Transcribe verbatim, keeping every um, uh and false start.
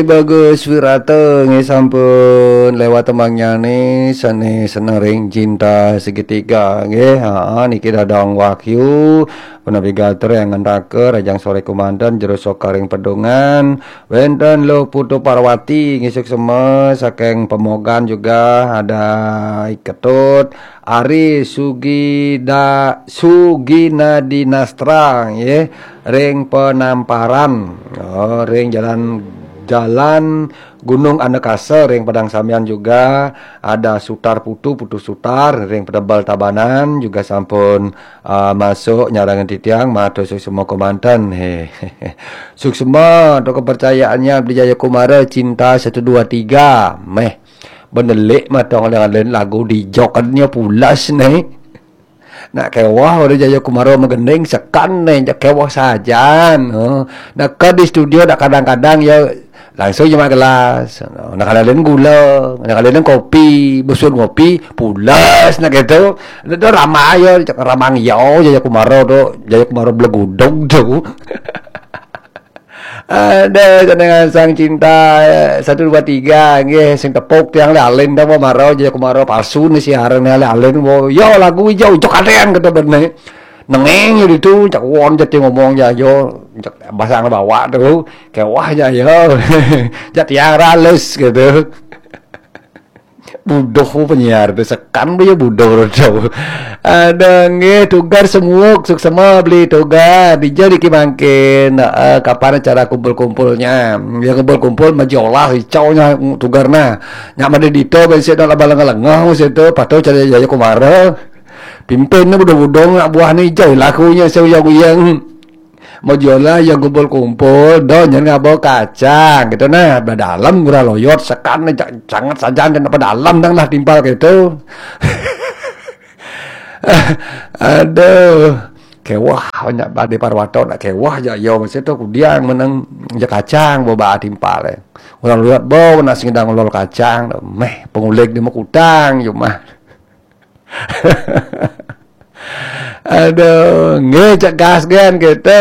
Bagus Wirata nggih sampun lewat tembangnya nih, sane seneng ring cinta segitiga nggih. Ha, niki Dadang Wahyu, punapi gatra yang ngentaka rajang sore kumanten, jero sokaring pedungan. Wenten Lo Putu Parwati nggih suksema saking Pemogan juga ada Iketut, Ari Sugida Sugina Dinastra nggih ring Penamparan. Oh, ring jalan jalan Gunung Anekasa ring Padang Samian juga ada Sutar Putu, Putu Sutar ring Pedebel Tabanan juga sampun ah, masuk nyarangan titiang matur suksma kemanten. He. Suksma to kepercayaannya Beli Jaya Kumara cinta satu dua tiga. Meh. Benelik matong dengan lagu di jokannya pulas nih. Nak kewah udah Jaya Kumara magending sekan nih, jak kewah sajan. Oh. Nak ke di studio dak kadang-kadang ya langsung cuma gelas. Nak ada lain gula, nak ada lain kopi, busur ngopi, pulas nak gitu. Itu ramai ya, cak ramang yo, Jaya Kumara tu, Jaya Kumara belegudong tu. Ada jenengan sang cinta eh, satu dua tiga nggih sing tepuk tiang le alin dah mau maro Jaya Kumara palsu ni siaran ni le alin wo yo lagu hijau hijau kadean kata benar nengeng ya itu cak won jadi ngomong ya yo cak basang bawa tu kewah ya yo jadi tiang rales gitu. Buduh penyiar tu sekan dia buduh tu. Ada nggih tugar semuk suksema beli tugar dija diki mangkin uh, kapan acara kumpul-kumpulnya ya kumpul-kumpul majolah icaunya tugar nah nyak made dito bensi dah laba lengah-lengah situ patuh cari jaya kumara pimpin ni buduh-buduh nak buah ni ijau lakunya seuyang-uyang. Mau jualan yang kumpul-kumpul, do jangan ngabau kacang gitu nah. Dalam gura loyot sekan sangat saja dan apa dalam dang lah timpal gitu. Aduh, kewah banyak badai parwato nak kewah aja yo mesti tu kudiang menang je kacang bawa timpal eh. Orang lihat bau nak singdang lol kacang, meh pengulik di kutang yo mah. Aduh, nggih cek gas gen gitu.